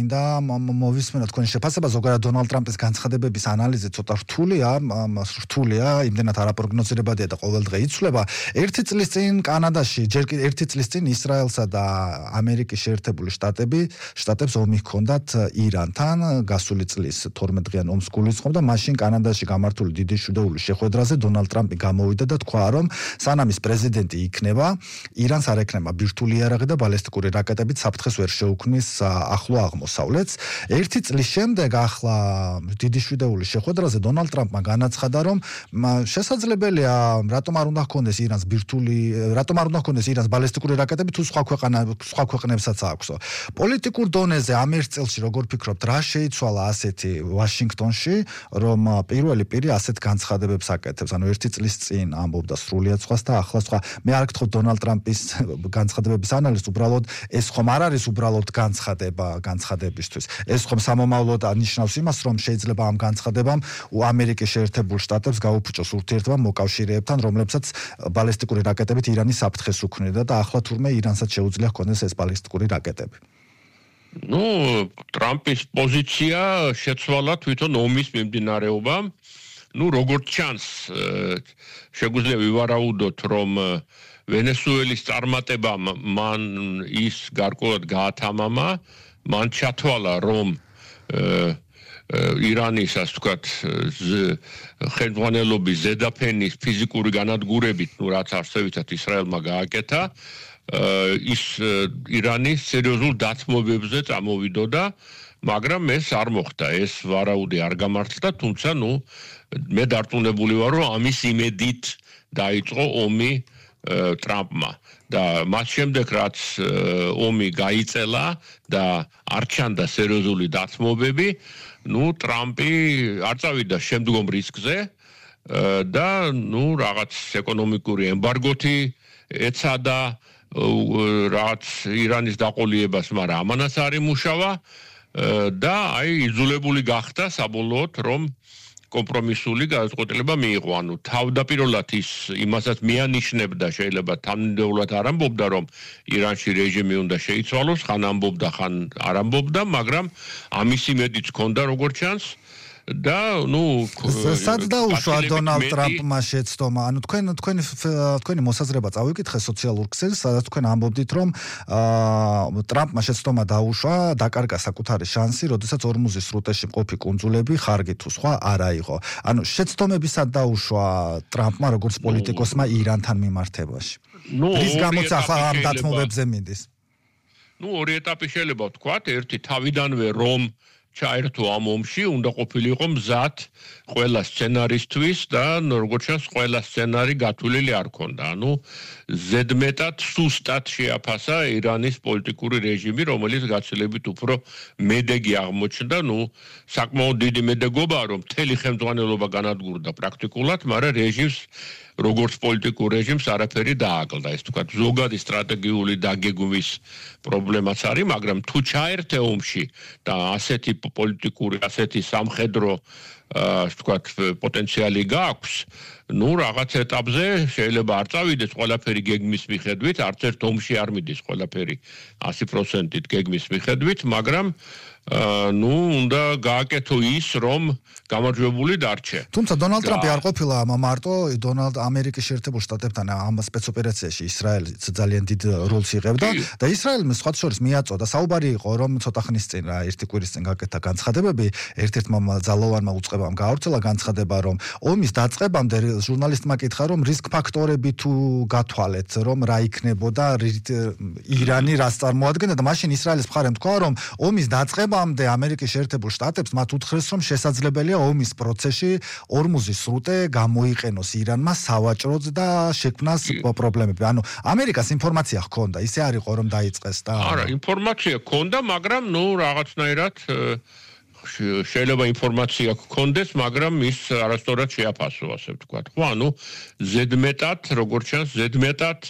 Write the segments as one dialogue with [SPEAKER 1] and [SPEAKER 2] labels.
[SPEAKER 1] მინდა მოვისმენოთ თქვენი შეფასება ზოგადად დონალდ ტრამპის განცხადებების ანალიზი ცოტა რთულია, იმდენად არაპროგნოზირებადია და ყოველდღე იცვლება. ერთი წლის წინ კანადაში, ჯერ კიდევ ერთი წლის წინ ისრაელსა და ამერიკის შეერთებული შტატებს ომი ჰქონდათ ირანთან, გასული წლის 12-დღიან ომს გულისხმობდა, მაშინ კანადაში გამართული დიდი შუდეულის შეხვედრაზე დონალდ ტრამპი გამოვიდა და თქვა, რომ სანამ ის პრეზიდენტი იქნება, ირანს არ ექნება ბირთვული იარაღი და ბალისტიკური რაკეტებით საფრთხეს ვერ შეუქმნის ახლო აღმოსავლეთს. ერთი წლის შემდეგ ახლა დიდი შვიდეულის შეხვედრაზე დონალდ ტრამპმა განაცხადა, რომ შესაძლებელია რატომ არ უნდა ჰქონდეს ირანს ბალისტიკური რაკეტები თუ სხვა ქვეყნებსაც აქვსო. პოლიტიკურ დონეზე ამ ერთ წელში როგორ ფიქრობთ, რა შეიცვალა ასეთი ვაშინგტონში, რომ პირველი პირი ასეთ განცხადებებს აკეთებს, ანუ ერთი წლის წინ ამბობდა სრულიად სხვას და ახლა სხვა. მე არ გთხოვთ დონალდ ტრამპის განცხადებების ანალიზს, უბრალოდ ეს ხომ არ არის უბრალოდ განცხადებისთვის. ეს ხომ სამომავლოდ ნიშნავს იმას, რომ შეიძლება ამ განცხადებამ ამერიკის შეერთებულ შტატებს გაუფუჭოს ურთიერთობა მოკავშირეებთან, რომლებსაც ბალისტიკური რაკეტებით ირანის საფრთხეს უქმნიდა და ახლა თურმე ირანსაც შეუძლია ჰქონდეს ეს ბალისტიკური რაკეტები.
[SPEAKER 2] ტრამპის პოზიცია შეცვალა თვითონ ომის მიმდინარეობამ. როგორც ჩანს, შეგვიძლია ვივარაუდოთ, რომ ვენესუელის წარმატებამ მან ის გარკვეულად გაათამამა, მან ჩათვალა, რომ ირანის, ასე ვთქვათ, ხელმძღვანელობის ზედაფენის ფიზიკური განადგურებით, რაც არსებითად ისრაელმა გააკეთა, ის ირანის სერიოზულ დათმობებზე წამოვიდოდა, მაგრამ ეს არ მოხდა, ეს ვარაუდი არ გამართლდა, თუმცა მე დარწმუნებული ვარ, რომ ამის იმედით დაიწყო ომი ტრამპმა და მას შემდეგ რაც ომი გაიწელა და არ ჩანდა სერიოზული დათმობები, ტრამპი არ წავიდა შემდგომ რისკზე და რაღაც ეკონომიკური ემბარგოთი ეცადა რაც ირანის დაყოლიებას, მაგრამ ამანაც არ იმუშავა და იძულებული გახდა საბოლოოდ, რომ კომპრომისული გადაწყვეტილება მიიღო. თავდაპირველად ის იმასაც მიანიშნებდა, შეიძლება თანმიმდევრულად არ ამბობდა, რომ ირანში რეჟიმი უნდა შეიცვალოს, ხან ამბობდა, ხან არ ამბობდა, მაგრამ ამის იმედიც ჰქონდა, როგორც ჩანს. და
[SPEAKER 1] სად დაუშვა დონალდ ტრამპმა შეცდომა? თქვენი მოსაზრება წავიკითხე სოციალურ ქსელს, სადაც თქვენ ამბობდით, რომ ტრამპმა შეცდომა დაუშვა, დაკარგა საკუთარი შანსი, როდესაც ორმუზის სრუტეში მყოფი კუნძულები ხარგი თუ სხვა არ აიღო. შეცდომები სად დაუშვა ტრამპმა როგორც პოლიტიკოსმა ირანთან მიმართებაში? რის გამოც ახლა ამ დათმობებზე მინდის?
[SPEAKER 2] ორი ეტაპი შეიძლება ვთქვათ, ერთი თავიდანვე რომ ჩაერთო ამ ომში, უნდა ყოფილიყო მზად ყველა სცენარისთვის და როგორც ჩანს, ყველა სცენარი გათვლილი არ ქონდა. ზედმეტად სუსტად შეაფასა ირანის პოლიტიკური რეჟიმი, რომელიც გაცილებით უფრო მედეგი აღმოჩნდა, საკმაოდ დიდი მედეგობაა, რომ მთელი ხელმძღვანელობა განადგურდა პრაქტიკულად, მაგრამ რეჟიმს როგორც პოლიტიკურ რეჟიმს არაფერი დააკლდა. ეს თქვა ზოგადი სტრატეგიული დაგეგმვის პრობლემაც არის, მაგრამ თუ ჩაერთე ომში და ასეთი პოლიტიკური, ასეთი სამხედრო თქვა პოტენციალი გააქვს, რაღაც ეტაპზე შეიძლება არ წავიდეს ყველაფერი გეგმის მიხედვით, არც ერთ ომში არ მიდის ყველაფერი 100%-ით გეგმის მიხედვით, მაგრამ უნდა გააკეთო ის, რომ გამარჯვებული დარჩე.
[SPEAKER 1] თუმცა დონალდ ტრამპი არ ყოფილა მარტო ამერიკის შეერთებულ შტატებთან ამ სპეცოპერაციაში ისრაელიც ძალიან დიდ როლს იღებდა და ისრაელმა სხვა შორის მიაწოდა. საუბარი იყო, რომ ცოტა ხნის წინ ერთი კვირის წინ გაკეთა განცხადებები, ერთ-ერთმა ძალოვანმა უწყებამ გაავრცელა განცხადება, რომ ომის დაწყებამდე ჟურნალისტმა კითხა, რომ რისკ ფაქტორები თუ გათვალეთ, რომ რა იქნებოდა ირანი რას წარმოადგენდა და მაშინ ისრაელის მხარემ თქვა, რომ ომის დაწყებამდე ამერიკის შეერთებულ შტატებს მათ უთხრეს, რომ შესაძლებელია ომის პროცესში ორმუზის სრუტე გამოიყენოს ირანმა სავაჭროდ და შექმნას პრობლემები. ამერიკას ინფორმაცია ჰქონდა, ისე არ იყო რომ დაიწყეს და
[SPEAKER 2] არა, ინფორმაცია ჰქონდა, მაგრამ რაღაცნაირად შეიძლება ინფორმაცია გქონდეს, მაგრამ ის არასწორად შეაფასო, ასე ვთქვათ. ზედმეტად, როგორც ჩანს, ზედმეტად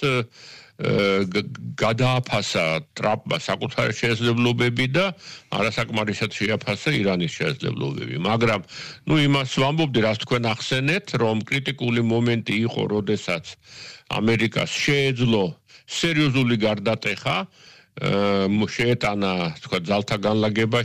[SPEAKER 2] გადააფასა ტრამპმა საკუთარი შესაძლებლობები და არასაკმარისად შეაფასა ირანის შესაძლებლობები. მაგრამ იმას ვამბობდი, რაც თქვენ ახსენეთ, რომ კრიტიკული მომენტი იყო, როდესაც ამერიკას შეეძლო სერიოზული გარდატეხა, შეეტანა, თქვა, ძალთა განლაგება